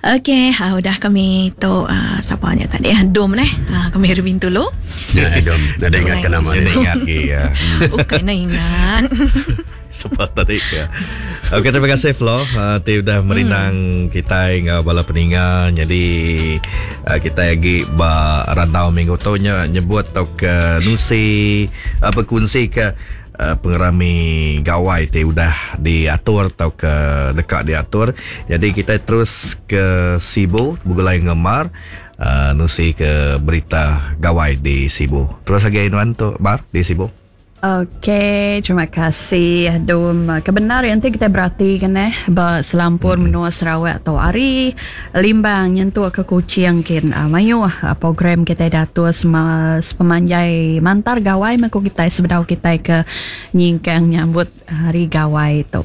Okey, ha, udah kami tu uh, sapa nya tadi ah, Dom neh. Ha, kami ari Bintulu. Ya, Dom. Nadai ingat ke nama. Saya ingat lagi ya. Bukan nak ingat. Sapa tadi ya. Okey, terima kasih Flo uh, ti udah merindang hmm. kita enggau bala peninga. Jadi uh, kita lagi ba randau minggu tu nya nyebut tau ke nusi uh, berkunsi ke pengerami gawai ti udah diatur tauka deka diatur. Nyadi kitai terus ke Sibu begulai enggau Mar nusi ke berita gawai di Sibu. Terus agi nuan tu Mar di Sibu. Okey, terima kasih Dum. Kebenar enti kitai beratika neh ba selampur menua Sarawak tu ari Limbang nyentuk ke Kuching kin mayuh program kitai diatur sepemanjai mantar gawai meh ku kitai sebedau kitai ke nyingkang nyambut hari gawai tu.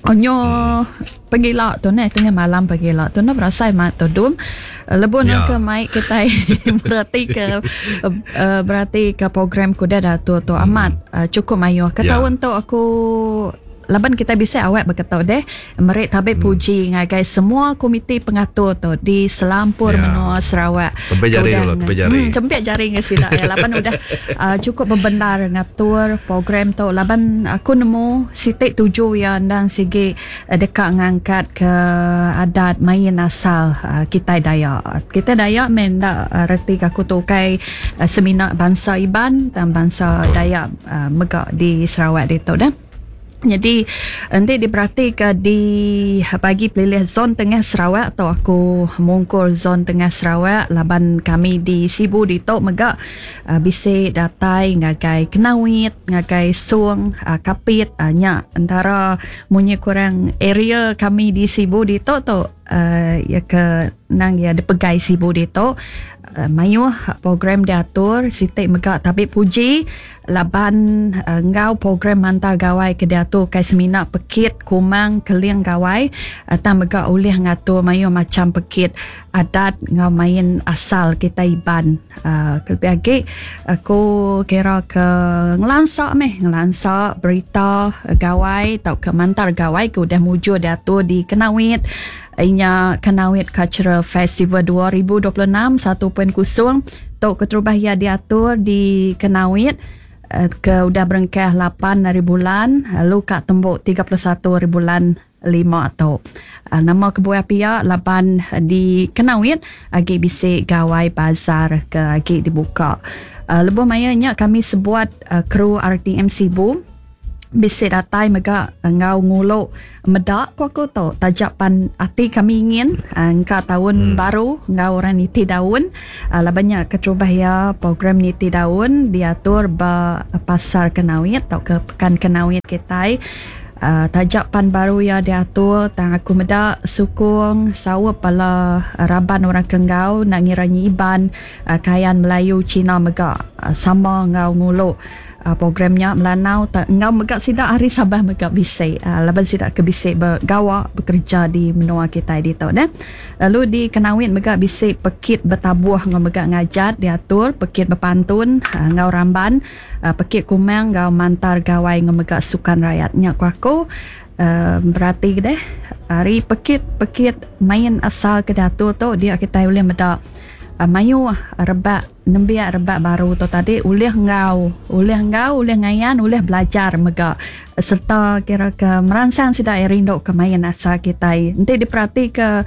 Nyo pegila tu neh tengah malam pegila tu neh berasai mat tu dum lebuh ne ke mai kitai berati ke berati ke program ke udah diatur tu amat chukup mayuh. Ke taun tu aku Laban kitai bisi awak beketu deh meri tabi hmm. puji ngagai semua komiti pengatur tu di selampur ya. menua Sarawak. Tempik jari dulu, tempik jari. Hmm, tempik jari dengan sida ya laban udah uh, cukup bebendar ngatur program tu laban aku nemu siti tuju ya endang sigi uh, deka ngangkat ke adat main asal uh, kitai Dayak. Kitai Dayak men enda uh, reti ke aku tu ukai uh, semina bansa Iban dan bansa Dayak uh, mega di Sarawak ditu dah. Nyadi enti diperatika di bagi pelilih zon tengah Sarawak tu aku mungkur zon tengah Sarawak laban kami di Sibu ditu mega bisi datai ngagai Kenawit, ngagai Song, Kapit nya entara munyi kurang area kami di Sibu ditu tu iya ke nang iya dipegai Sibu ditu mayuh program diatur siti mega tabi puji. Laban enggau program Mantar Gawai ke diatur ukai semina pekit Kumang Keling Gawai tang mega ulih ngatur mayuh macham pekit adat enggau main asal kitai Iban. Kelebih agi aku kira ke ngelansa meh ngelansa berita gawai tauka Mantar Gawai ke udah mujur diatur di Kenawit inya Kanowit Cultural Festival 2026 1.0 tu keterubah iya diatur di Kanowit ke udah berengkah lapan hari bulan lalu ka tembu 31 hari bulan lima tu. Nama kebuah pia laban di Kanowit agi bisi gawai bazar ke agi dibuka. Lebuh maya nya kami sebuat kru RTM Sibu Bisi datai mega enggau ngulu meda ku aku tu taja pan ati kami ingin engka taun baru enggau orang niti daun laban nya keterubah iya program niti daun diatur ba pasar Kanowit tauka pekan Kanowit kitai taja pan baru iya diatur tang aku meda sukung saup bala raban orang ke enggau enda ngira nyi Iban Kayan Melayu Cina mega sama enggau ngulu. Program nya Melanau enggau mega sida ari Sabah mega bisi laban sida ke bisi begawa bekereja di menua kitai ditu neh. Lalu di Kanowit mega bisi pekit betabuh enggau mega ngajat diatur, pekit bepantun enggau ramban, pekit kumang enggau mantar gawai enggau mega sukan rayat. Nya ku aku berati deh ari pekit-pekit main asal ke diatur tu dia kitai ulih meda mayuh rebak Nembiak rebak baru tu tadi ulih enggau, ulih enggau, ulih ngayan, ulih belajar mega sereta kira ke meransang sida iya rindu ke main asal kitai. Enti diperatika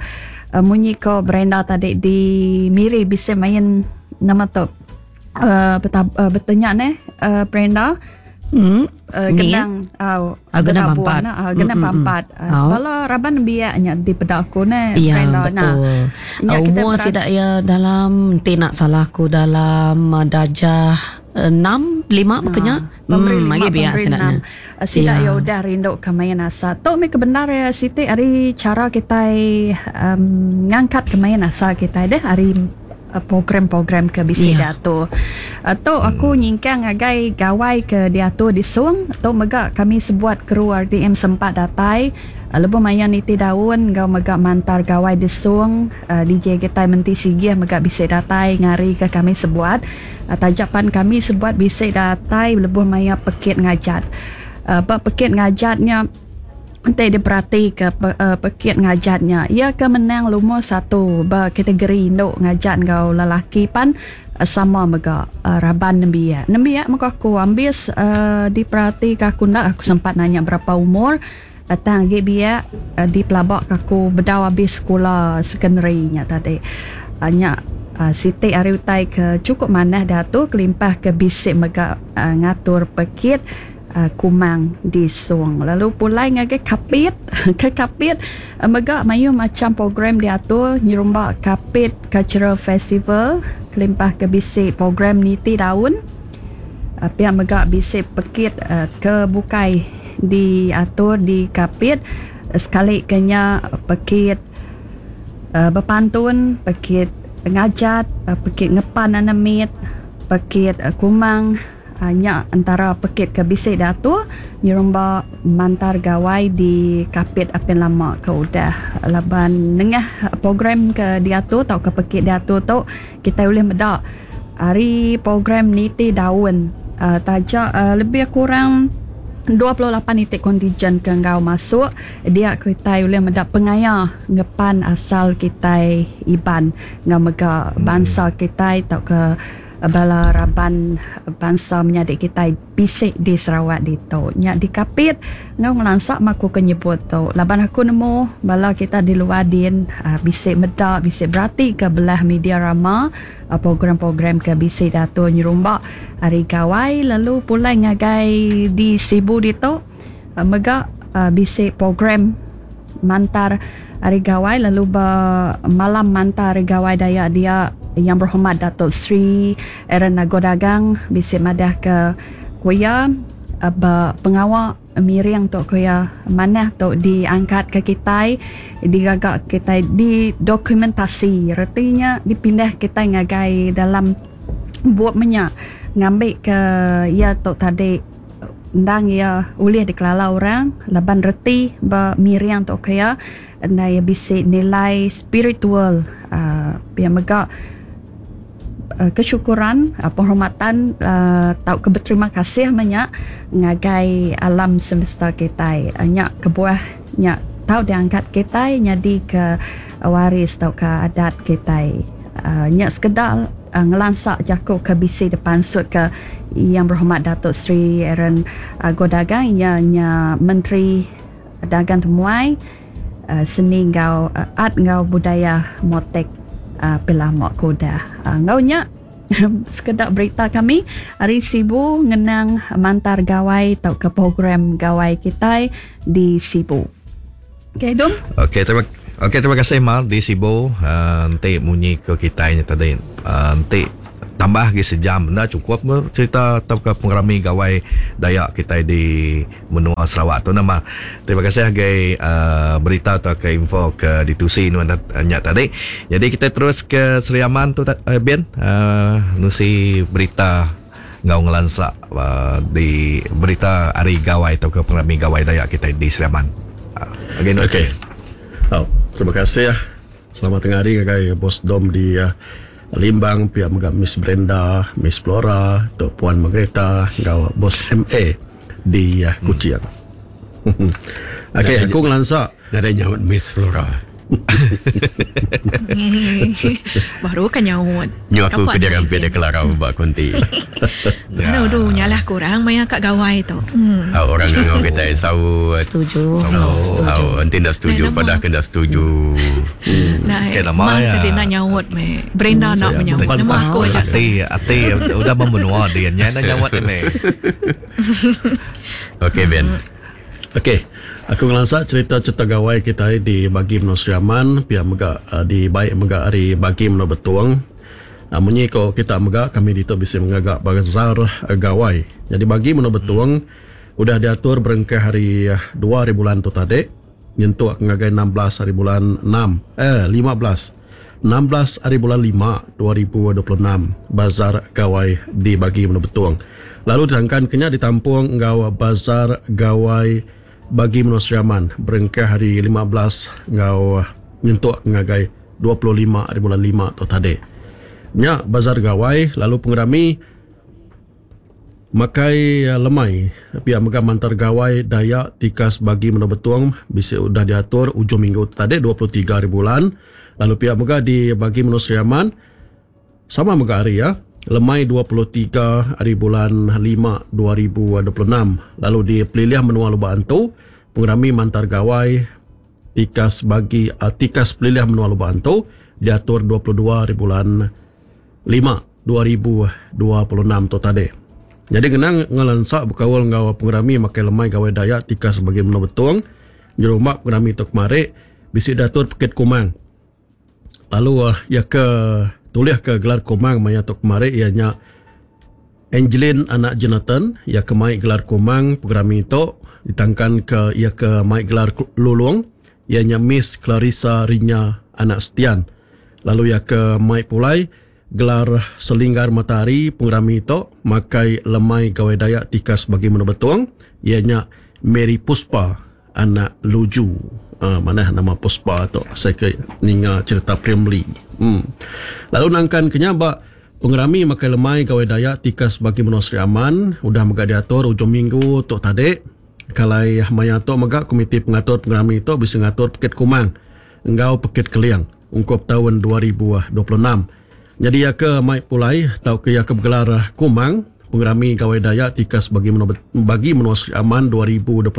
munyi ko Brenda tadi di Miri bisi main nama tu uhh betanya neh Brenda. Hmm. Uh, gendang au uh, gendang pampat uh, gendang mm, pampat mm, uh, bala raban nembiak nya dipeda aku ne ya, betul. Nah, umur sida ya dalam ti nak salah aku dalam darjah 6 5 bekenya hmm lagi biak sida nya sida ya udah rindu ke main asal tu meh kebenar ya siti ari cara kitai um, ngangkat ke main asal kitai deh ari program-program ke bisi yeah. diatur. Tu aku nyingkang ngagai gawai ke diatur di Song. Tu mega kami sebuat kru RTM sempat datai lebuh maya niti daun enggau mega mantar gawai di Song. DJ kitai Menti Sigih mega bisi datai ngarika kami sebuat. Taja pan kami sebuat bisi datai lebuh maya pekit ngajat. Ba pekit ngajat nya. Enti diperati ke pekit ngajat nya, iya ke menang lumur satu ba kategori indu ngajat enggau lelaki pan sama mega raban nembiak. Nembiak mega aku ambis diperati ke aku enda aku sempat nanya berapa umur tang agi biak dipelaba ke aku bedau abis sekula secondary nya tadi. Nya siti ari utai ke chukup manah diatu kelimpah ke bisi mega ngatur pekit Kumang di Song. Lalu pulai ngagai Kapit, ke Kapit mega mayuh macham program diatur nyerumba Kapit Cultural Festival kelimpah ke bisi program niti daun. Pia mega bisi pekit ke bukai diatur di Kapit sekali ke nya pekit bepantun, pekit ngajat, pekit ngepan anak mit, pekit kumang. Nya entara pekit ke bisi diatur nyerumba mantar gawai di Kapit apin lama ke udah laban nengah program ke diatur tauka pekit diatur tu kitai ulih meda ari program niti daun taja lebih kurang 28 iti kontijen ke enggau masuk dia kitai ulih meda pengaya ngepan asal kitai Iban enggau mega bansa kitai tauka Bala raban bansa menyadi kitai bisi di Sarawak ditu. Nya dikapit enggau ngelansa meh aku ke nyebut tu laban aku nemu bala kita di luar din bisi meda bisi beratika belah media rama program-program ke bisi diatur nyerumba Hari Gawai lalu pulai ngagai di Sibu ditu mega bisi program mantar Hari Gawai lalu ba malam mantar Hari Gawai Dayak dia Yang Berhormat Dato Sri Aaron Ago Dagang bisi madah ke ku iya ba pengawa miring tu ku iya manah tu diangkat ke kitai digaga kitai didokumentasi reti nya dipindah kitai ngagai dalam bup menya ngambi ke iya tu tadi. Endang iya ulih dikelala orang laban reti ba miring tu ke iya enda iya bisi nilai spiritual uhh pia mega kesyukuran penghormatan uhh tauka beterima kasih meh nya ngagai alam semesta kitai. Nya kebuah nya tau diangkat kitai nyadi ke waris tauka adat kitai. Uhh nya sekeda. Ngelansa jaku ke bisi dipansutka Yang Berhormat Dato Sri Aaron Ago Dagang iya nya Menteri Dagang Temuai, Seni enggau Art enggau Budaya Motek Pilama ke udah. Enggau nya sekeda berita kami ari Sibu ngenang mantar gawai tauka program gawai kitai di Sibu. Okey Dum. Okey terima okey terima kasih Mal di Sibu uh, enti munyi ke kitai nya tadi uh, enti tambah lagi sejam enda cukup cerita tauka pengerami gawai Dayak kitai di menua Sarawak tu nama. Terima kasih agai uh, berita tauka info ke ditusi nuan nya tadi. Jadi kita terus ke Sri Aman tu uh, Ben uh, nusi berita enggau ngelansa di berita hari Gawai tauka pengerami Gawai Dayak kitai di Sri Aman. Agi enda okey. Au, terima kasih. Selamat tengah hari ngagai Bos Dom di Limbang pia mega Miss Brenda, Miss Flora, Tok Puan Margareta enggau Bos MA di Kuching. Okey, aku ngelansa. Nadai nyaut Miss Flora. Baru ka nyaut. Nyu aku ke dirampit dia kelarau ba konti. Anu du nyalah ku orang maya ka gawai tu. Au orang ngangau kitai saut. Setuju. Au enti enda setuju padah ke enda setuju. Nah, okay, nama ya. Tadi nak nyaut me. Brenda nak menyaut. Nama aku aja. Ati ati udah membenua dia nya nak nyaut me. Okey Ben. Okey, aku ngelansa cherita-cherita gawai kitai di bagi menua Sri Aman pia mega di bai mega ari bagi menua Betong. Munyi ko kita mega kami ditu bisi ngaga bazar gawai. Nyadi bagi menua Betong udah diatur berengkah hari dua hari bulan tu tadi nyentuk ngagai 16 hari bulan enam eh 15 16 hari bulan lima 2026 bazar gawai di bagi menua Betong. Lalu ditangkan ke nya ditampung enggau bazar gawai bagi menua Sri Aman berengkah hari 15 enggau nyentuk ngagai 25 hari bulan lima tu tadi. Nya bazar gawai lalu pengerami. Makai lemai pia mega mantar gawai Dayak tikas bagi menua Betong bisi udah diatur ujung minggu tu tadi 23 hari bulan lalu pia mega di bagi menua Sri Aman sama mega hari iya lemai 23 hari bulan 5 2026 lalu di pelilih menua Lubok Antu pengerami mantar gawai tikas bagi tikas pelilih menua Lubok Antu diatur 22 hari bulan 5, 2026 tu tadi. Nyadi ngenang ngelansa bekaul enggau pengerami makai lemai Gawai Dayak tikas bagi menua Betong, nyerumba pengerami tu kemari bisi diatur Pekit Kumang. Lalu iya ke tulih ke gelar Kumang maya tu kemari iya nya Angeline anak Jonathan, iya ke mai gelar Kumang pengerami tu ditangkan ke iya ke mai gelar Lulong iya nya Miss Clarissa Rinya anak Setian. Lalu iya ke mai pulai gelar Selinggar Matahari pengerami tu makai lemai Gawai Dayak tikas bagi menua Betong iya nya Mary Puspa anak Luju. Uh, manah nama Puspa tu saya ke ninga cerita Primly. Lalu nangkan ke nya ba pengerami makai lemai Gawai Dayak tikas bagi menua Sri Aman udah mega diatur ujung minggu tu tadi. Kalai maya tu mega komiti pengatur pengerami tu bisi ngatur Pekit Kumang enggau Pekit Keling ungkup taun 2026. Nyadi iya ke mai pulai tauka iya ke begelar Kumang pengerami Gawai Dayak tikas bagi menua bagi menua Sri Aman 2026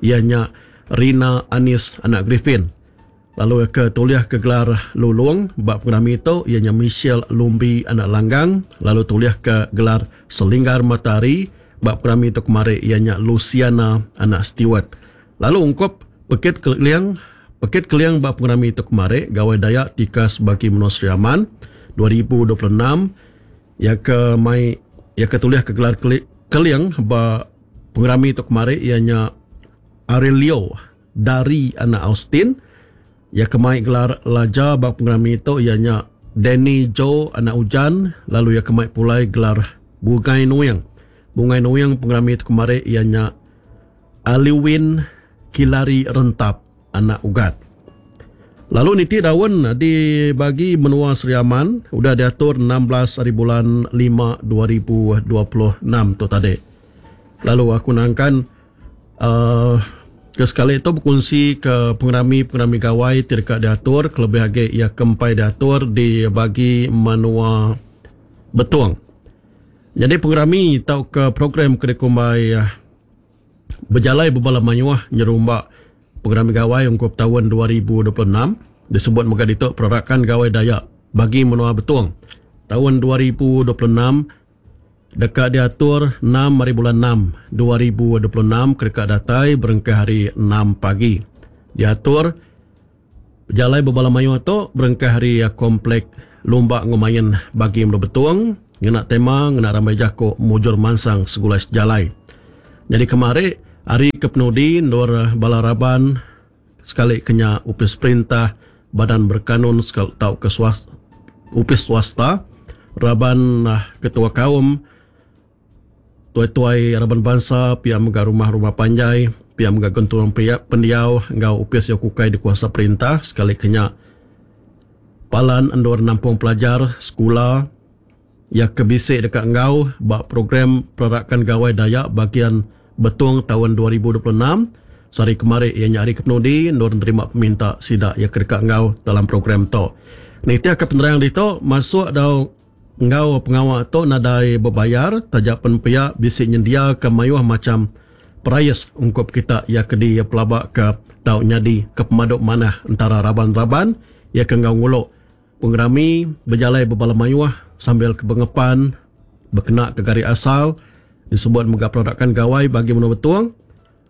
iya nya Rina Anis anak Griffin. Lalu iya ke tulih ke gelar Lulong ba pengerami tu iya nya Michelle Lumbi anak Langgang lalu tulih ke gelar Selinggar Matahari ba pengerami tu kemari iya nya Luciana anak Stewart. Lalu ungkup Pekit Keling Pekit Keling ba pengerami tu kemari Gawai Dayak tikas bagi menua Sri Aman 2026 iya ke mai iya ke tulih ke gelar Keling ba pengerami tu kemari iya nya Aurelio Dari anak Austin. Iya ke mai gelar Laja ba pengerami tu iya nya Danny Joe anak Ujan lalu iya ke mai pulai gelar Bungai Nuing. Bungai Nuing pengerami tu kemari iya nya Aliwin Kilari Rentap anak Ugat. Lalu niti daun di bagi menua Sri Aman udah diatur 16 hari bulan 5 2026 tu tadi. Lalu aku nangkan uhh ke sekali tu bekunsi ke pengerami-pengerami gawai ti deka diatur kelebih agi iya ke empai diatur di bagi menua Betong. Nyadi pengerami tauka program ke dikumbai bejalai bebala mayuh nyerumba pengerami gawai ungkup taun 2026 disebut mega ditu Perarakan Gawai Dayak bagi menua Betong taun 2026 deka diatur 6 hari bulan 6 2026 ke deka datai berengkah hari 6 pagi. Diatur pejalai bebala mayuh tu berengkah hari Komplek Lumba enggau Main Bagi Menua Betong ngena tema ngena rambai jaku Mujur Mansang Segulai Sejalai. Nyadi kemari hari ke penudi endur bala raban sekali ke nya opis perintah, badan berkanun tauka opis swasta, raban ketua kaum, tuai-tuai raban bansa, pia mega rumah-rumah panjai, pia mega genturung pendiau enggau opis Yokukai dikuasa perintah sekali ke nya palan endur nampung pelajar sekula iya ke bisi deka enggau ba program Perarakan Gawai Dayak Bagian Betong taun 2026 sehari kemari iya nya hari kepenudi endur nerima peminta sida iya ke deka enggau dalam program tu. Nitihka penerang ditu masuk dau enggau pengawa tu nadai bebayar taja pen pia bisi nyendiaka mayuh macham perais ungkup kita iya ke dipelabaka tau nyadi ke pemadu manah entara raban-raban iya ke enggau ngulu pengerami bejalai bebala mayuh sambil ke bengepan bekena ke gari asal disebut mega Perarakan Gawai bagi menua Betong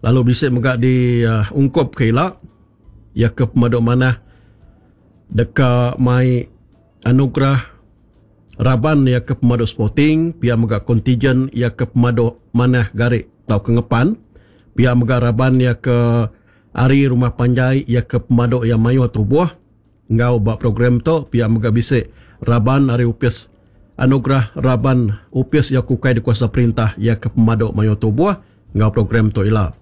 lalu bisi mega di ungkup ke ila iya ke pemadu manah deka mai anugerah raban iya ke pemadu sporting pia mega kontijen iya ke pemadu manah gari tauka ngepan pia mega raban iya ke ari rumah panjai iya ke pemadu iya mayuh tubuh enggau ba program tu pia mega bisi raban ari opis anugerah raban opis iya ke ukai dikuasa perintah iya ke pemadu mayuh tubuh enggau program tu ila.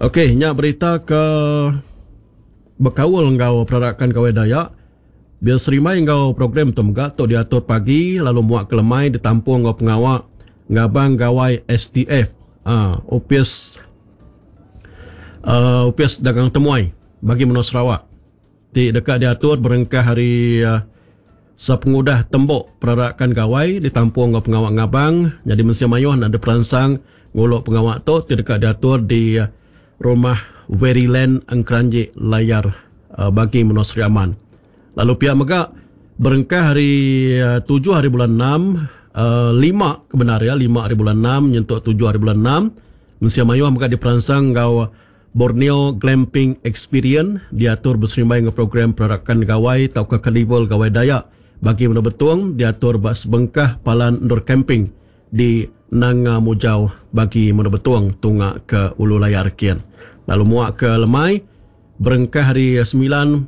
Okey nya berita ke bekaul enggau perarakan Gawai Dayak. Beserimbai enggau program tu mega tu diatur pagi lalu muak ke lemai ditampung enggau pengawa ngabang Gawai STF Opis Opis Dagang Temuai Bagi Menua Sarawak ti deka diatur berengkah ari sepengudah tembu perarakan Gawai ditampung enggau pengawa ngabang nyadi mensia mayuh enda diperansang ngulu pengawa tu ti deka diatur di Rumah Veryland Engkeranji Layar Bagi Menua Sri Aman. Lalu pia mega berengkah hari tujuh hari bulan enam lima ke bendar iya lima hari bulan enam nyentuk tujuh hari bulan enam mensia mayuh mega diperansang enggau Borneo Glamping Experience diatur beserimbai enggau program Perarakan Gawai tauka Karnival Gawai Dayak Bagi Menua Betong diatur ba sebengkah palan endur camping di Nanga Mujau bagi Menua Betong tunga ke Ulu Layar kin. Lalu muak ke lemai berengkah hari 9:30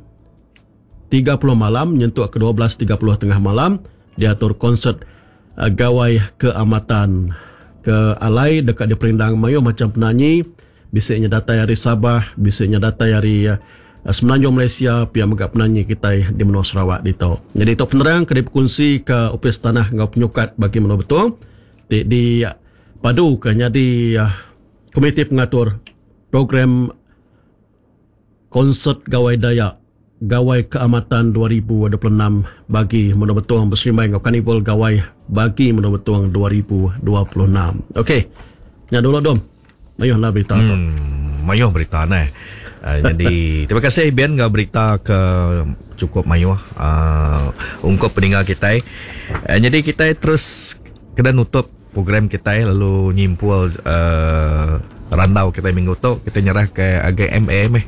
malam nyentuk ke 12:30 tengah malam diatur konsert Gawai Keamatan ke alai deka diperindang mayuh macham penanyi bisi nya datai ari Sabah, bisi nya datai ari Semenanjung Malaysia pia mega penanyi kitai di menua Sarawak ditu. Nyadi tu penerang ke dipekunsika Opis Tanah enggau Penyukat Bagi Menua Betong ti dipaduka nyadi Komiti Pengatur Program Konsert Gawai Dayak Gawai Keamatan 2026 Bagi Menua Betong beserimbai enggau Karnival Gawai Bagi Menua Betong 2026. Okey. Nya dulu dom. Mayuh enda berita tu. Mayuh berita neh. Nyadi terima kasih Ben enggau berita ke cukup mayuh uhh ungkup peninga kitai. Nyadi kitai terus kena nutup program kitai lalu nyimpul uhh randau kitai minggu tu kitai nyerah ke agai MA meh.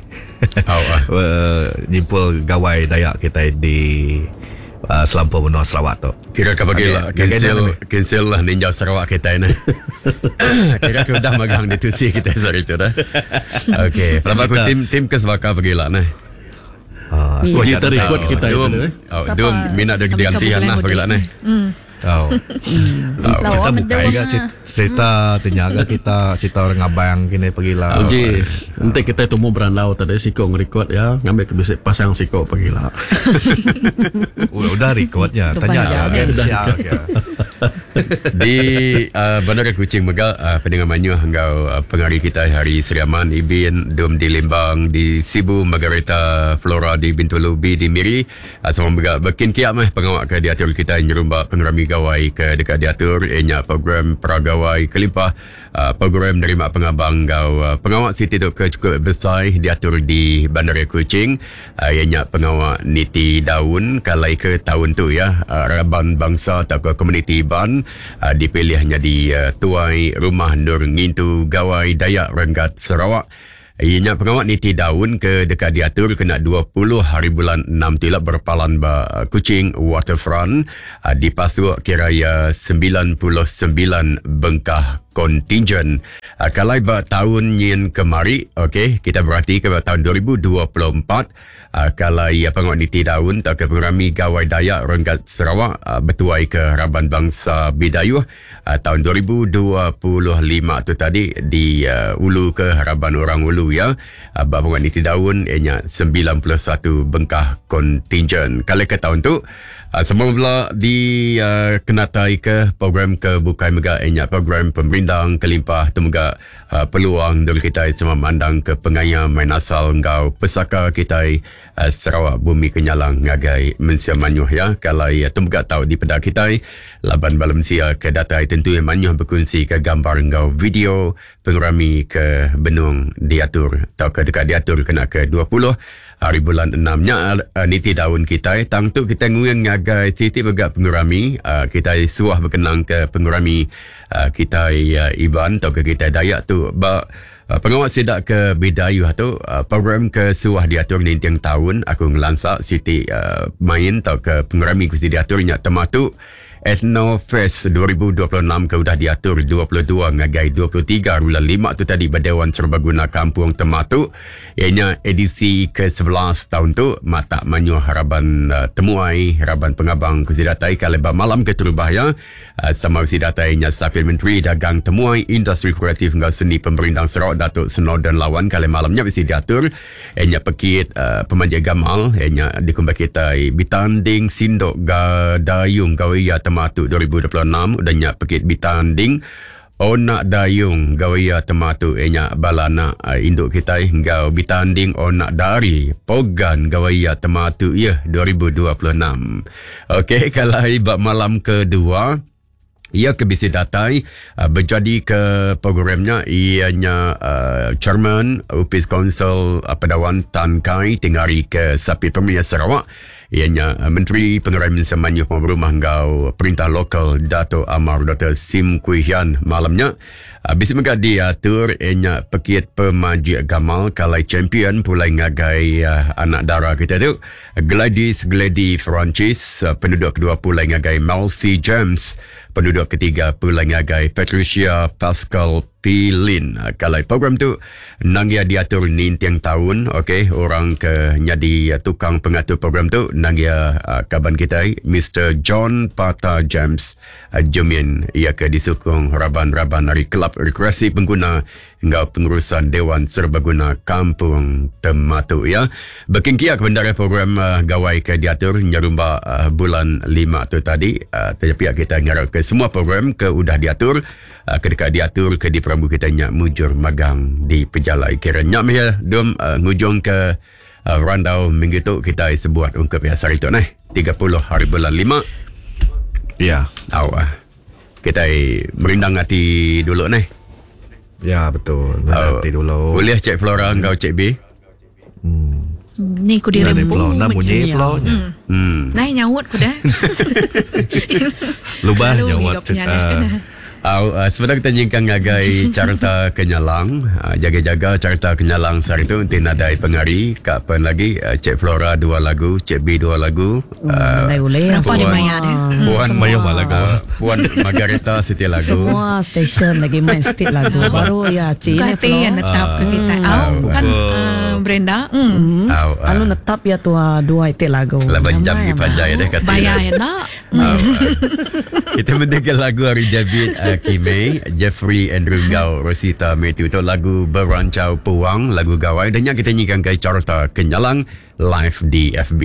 Uhh nyimpul gawai Dayak kitai di selampur menua Sarawak tu. Kira ke pagi la cancel cancel lah ninjau Sarawak kitai neh. Kira ke udah magang ditusi kitai sehari tu dah. Okey, pelaba ku tim tim ke sebaka pagi la neh. Ah, aku Kita record kitai Dum, tu eh. oh, dum mina dia diganti anak pagi la neh. Oh. Cerita bukai ga cerita ti nya ga kita cerita orang ngabang kini pagila. Uji enti kitai tumu berandau tadi siko ngerekod iya ngambi ke bisi pasang siko pagila. Udah record nya tanya agai mensia ke. Di Bandar Kuching mega pendengar mayuh enggau pengari kitai ari Sri Aman, Ibin, Dum di Limbang, di Sibu, Margareta, Flora di Bintulu, B di Miri. Sama mega bekin kia meh pengawa ke diatur kitai nyerumba pengerami gawai ke deka diatur iya nya program pra gawai kelimpah program nerima pengabang enggau pengawa siti tu ke chukup besai diatur di Bandaraya Kuching iya nya pengawa niti daun ke alai ke taun tu iya raban bansa tauka komuniti Iban dipilih nyadi tuai rumah endur ngintu Gawai Dayak Renggat Sarawak. Iya nya pengawa niti daun ke deka diatur kena 20 hari bulan enam tu ila berpalan ba Kuching Waterfront dipasuk kira iya 99 bengkah kontingen. Kalai ba taun nyin kemari, okey, kita beratika ba taun 2024 Kalai pengawa niti daun tauka pengerami Gawai Dayak renggat Sarawak betuai ke raban bansa Bidayuh taun 2025 tu tadi di ulu ke raban orang ulu iya ba pengawa niti daun iya nya 91 bengkah kontingen. Kalai ke taun tu Sama bela di kenatai ke program ke bukai mega iya nya program pemerindang kelimpah tu mega peluang endur kitai sama mandang ke pengaya main asal enggau pesaka kitai Sarawak Bumi Kenyalang ngagai mensia mayuh iya ke alai tu mega tau dipeda kitai laban bala mensia ke datai tentu iya mayuh bekunsi ke gambar enggau video pengerami ke benung diatur tauka deka diatur kena ke 20 Hari bulan enam nya niti daun kitai tang tu kitai nguing ngagai siti mega pengerami kitai suah bekenang ke pengerami kitai Iban tauka kitai Dayak tu ba pengawa sida ke Bidayuh tu program ke suah diatur ninting taun aku ngelansa siti main tauka pengerami ke diatur nya tematu. Ethnofest 2026 ke udah diatur 22 ngagai 23 bulan 5 tu tadi ba Dewan Serbaguna Kampung Tematu iya nya edisi ke-11 taun tu matak mayuh raban temuai raban pengabang ke bisi datai ke alai ba malam keterubah iya sama bisi datai nya Sapit Menteri Dagang Temuai Industri Kreatif enggau Seni Pemerindang Sarawak Datuk Snowdan Lawan ke alai malam nya bisi diatur Iya nya pekit pemanjai gamal iya nya dikumbai kitai Bitanding Sindok Gadayung Gawaiya Tematu 2026 udah nya pekit Bitanding Onak Dayung Gawaiya Tematu iya nya bala anak indu kitai enggau Bitanding Onak Dari Pogan Gawaiya Tematu iya 2026. Okey kalai ba malam kedua Iya ke bisi datai bejadi ke program nya iya nya Chairman Opis Kaunsil Pedawan Tan Kai ti ngari ke Sapit Premier Sarawak iya nya Menteri Pengerai Mensia Mayuh Pengawa Berumah enggau Perintah Lokal Datuk Amar Doktor Sim Kui Hian malam nya. Bisi mega diatur iya nya pekit pemajik gamal ke alai champion pulai ngagai anak dara kita tu Gladys Glady Francis, penduduk kedua pulai ngagai Melcy James, penduduk ketiga pulai ngagai Patricia Pascal Pilin. Kalai program tu nang iya diatur ninting taun, okey, orang ke nyadi tukang pengatur program tu nang iya kaban kitai Mister John Pata James Jumin, iya ke disukung raban-raban ari Kelab Rekreasi Pengguna enggau Pengurusan Dewan Serbaguna Kampung Tematu iya. Bekingkia ke bendar program gawai ke diatur nyerumba bulan 5 tu tadi. Taja pia kita ngarap ke semua program ke udah diatur ke deka diatur ke diperambu kita nya mujur magang dipejalai. Kira nya meh iya dum ngujung ke randau minggu tu kitai sebuat ungkup iya sehari tu neh 30 hari bulan 5. Ya. Au. Kitai merindang ati dulu neh. Ya betul. Merindang ati dulu. Ulih Cik Flora enggau Cik B. Ni ku diri empu. Nda munyi Flo nya. Hmm. Nai nyaut ku dah. Lubah nyaut cerita. Au, sebedau kita nyingkang ngagai carta kenyalang, jaga-jaga carta kenyalang sehari tu enti nadai pengari ka pen lagi Cik Flora dua lagu, Cik B dua lagu. Nadai ulih. Berapa dia mayar dia? Puan Mayuh ba lagu. Puan Margareta siti lagu. Semua stesen lagi main siti lagu. Baru iya ci Suka hati iya netap ke kitai. Au bukan Brenda. Au. Lalu netap iya tua dua iti lagu. Laban jam gi panjai deh kati. Bayar enda. Kita mendingka lagu ari David Kime, Jeffrey Andrew enggau Rosita Matthew tu lagu Berancau Puang, lagu Gawai. Dah nya kita nyingkang ke carta Kenyalang live di FB.